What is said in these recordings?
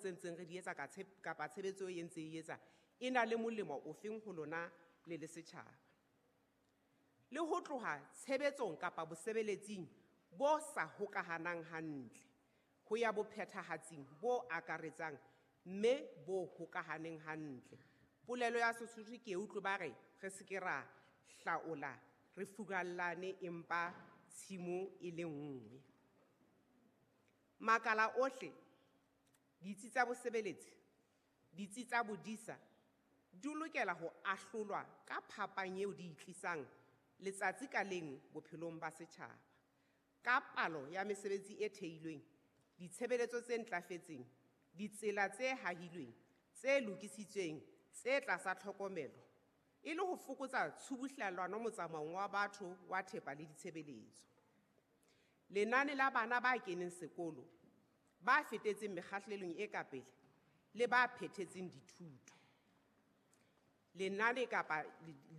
tse ntseng re di etsa kapa tshebetso e ntse e etsa e na le molemo ofeng ho lona le le setjhaba. Le ho tloha tshebetsong kapa bosebeletsing bo sa hokahanang hantle ho ya bophethahatsing bo akaretsang mme bo hokahaneng hantle. Polelo ya Sesotho ke e utlwe ba re re se ke ra hlaola re furallane empa tshimo e le nngwe. Makala ohle, ditsi tsa bosebeletsi, ditsi tsa bodisa di lokela ho ahlolwa ka phapang eo di e tlisang letsatsi ka leng bophelong ba setjhaba. Ka palo ya mesebetsi e theilweng, ditshebeletso tse ntlafetseng, ditsela tse hahilweng, tse lokisitsweng, tse tlasa tlhokomelo, e le ho fokotsa tshubuhlellano motsamaong wa batho, wa thepa le ditshebeletso. Lenane la bana ba keneng sekolo, ba fetetseng mekgahlelong e ka pele le ba phethetseng dithuto. Lenane kapa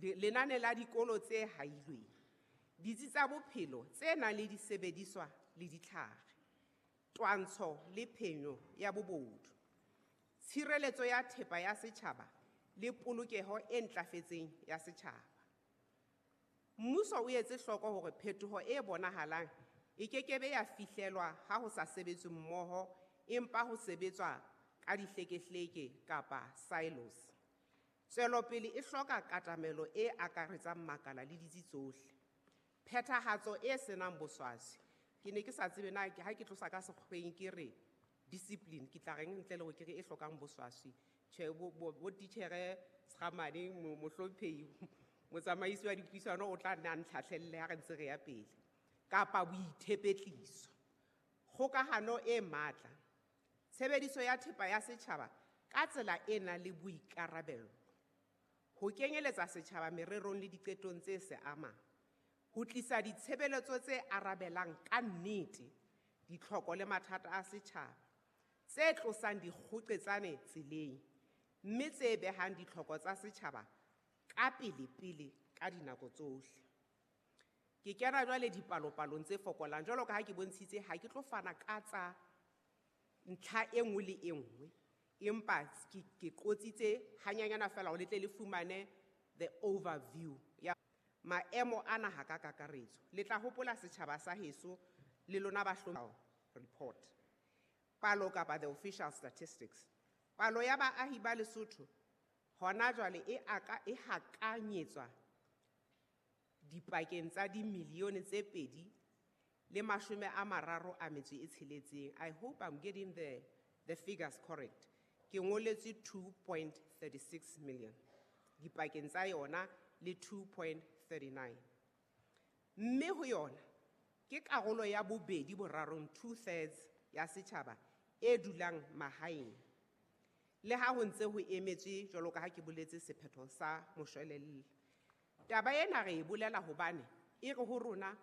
lenane la dikolo tse hailweng, ditsi tsa bophelo tse nang le disebediswa le ditlhare, twantsho le phenyo ya bobodu, tshireletso ya thepa ya setjhaba le polokeho e ntlafetseng ya setjhaba. Mmuso o etse hloko hore phetoho e bonahalang e kekebe ya fihlelwa ha ho sa sebetswe mmoho empa ho sebetswa ka dihlekehleke kapa silos. Tswelopele e hloka katamelo e akaretsang makala le ditsi tsohle. Phethahatso e senang boswaswi. Ke ne ke sa tsebe na ha ke tlosa ka sekgweng ke re discipline, ke tla reng ntle le hore ke re e hlokang boswaswi. Tjhe, bo titjhere Sramane, mohlomphehi, motsamaisi wa dipuisano o tla nna a ntlhahlelle ha re ntse re ya pele. Kapa boithepetliso. Kgokahano e matla. Tshebediso ya thepa ya setjhaba ka tsela e nang le boikarabelo. Ho kenyeletsa setjhaba mererong le diqetong tse se amang. Ho tlisa ditshebeletso tse arabelang ka nnete ditlhoko le mathata a setjhaba, tse tlosang dikgoqetsane tseleng, mme tse behang ditlhoko tsa setjhaba ka pele-pele ka dinako tsohle. Ke kena jwale dipalopalong tse fokolang, jwalo ka ha ke bontshitse, ha ke tlo fana ka tsa ntlha e nngwe le e nngwe, empa ke qotsitse hanyanyana feela hore le tle le fumane the overview ya maemo a naha ka kakaretso. Le tla hopola setjhaba sa heso le lona ba report. Palo kapa the official statistics. Palo ya baahi ba Lesotho hona jwale e hakanyetswa dipakeng tsa dimilione tse pedi le mashome a mararo a metso e tsheletseng. I hope I'm getting the figures correct. Ke ngoletswe 2.36 million dipakeng tsa yona le 2.39. Mme ho yona ke karolo ya bobedi borarong, 2/3 ya setjhaba e dulang mahaeng. Le ha ho ntse ho emetswe jwalo ka ha ke boletse sephetho sa moshwelella. Taba ena re e bolela hobane e re ho rona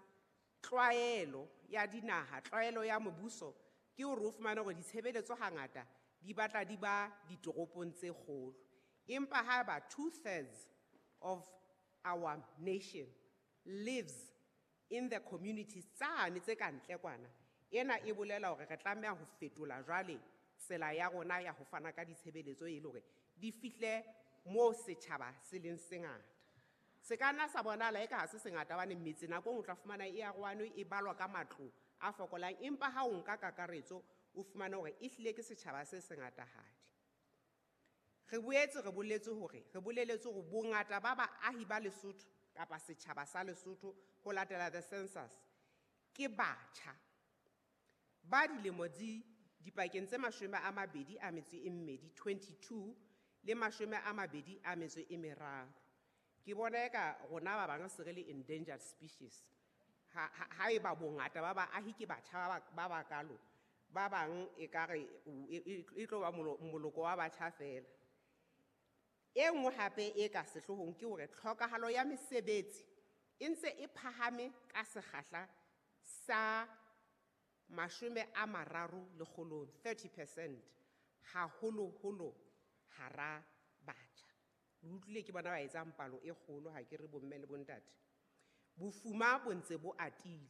tlwaelo ya dinaha, tlwaelo ya mobuso ke hore o fumane hore ditshebeletso hangata di batla di ba ditoropong tse kgolo. Empa haeba 2/3 of our nation lives in the communities tsane tse ka ntle kwana, ena e bolela hore re tlameha ho fetola jwale tsela ya rona ya ho fana ka ditshebeletso e le hore di fihle moo setjhaba se leng sengata. Se ka nna sa bonahala eka ha se sengata hobane metse nako e nngwe o tla fumana e arohane, e balwa ka matlo a fokolang, empa ha o nka kakaretso o fumane hore ehlile ke setjhaba se sengatahadi. Re boetse re boletse hore, re boleletse hore bongata ba baahi ba Lesotho kapa setjhaba sa Lesotho ho latela the census ke batjha ba dilemo di dipakeng tse mashome a mabedi a metso e mmedi, 22 le mashome a mabedi a metso e meraro. Ke bona eka rona ba bang se re le endangered species. Ha eba bongata ba baahi ke batjha ba bakalo, ba bang ekare e tlo ba moloko wa batjha feela. E nngwe hape e ka sehloohong ke hore tlhokahalo ya mesebetsi e ntse e phahame ka sekgahla sa mashome a mararo lekgolong, 30%, haholoholo hara batjha. Le utlwile ke bona ba etsang palo e kgolo, ha ke re bomme le bontate. Bofuma bo ntse bo atile.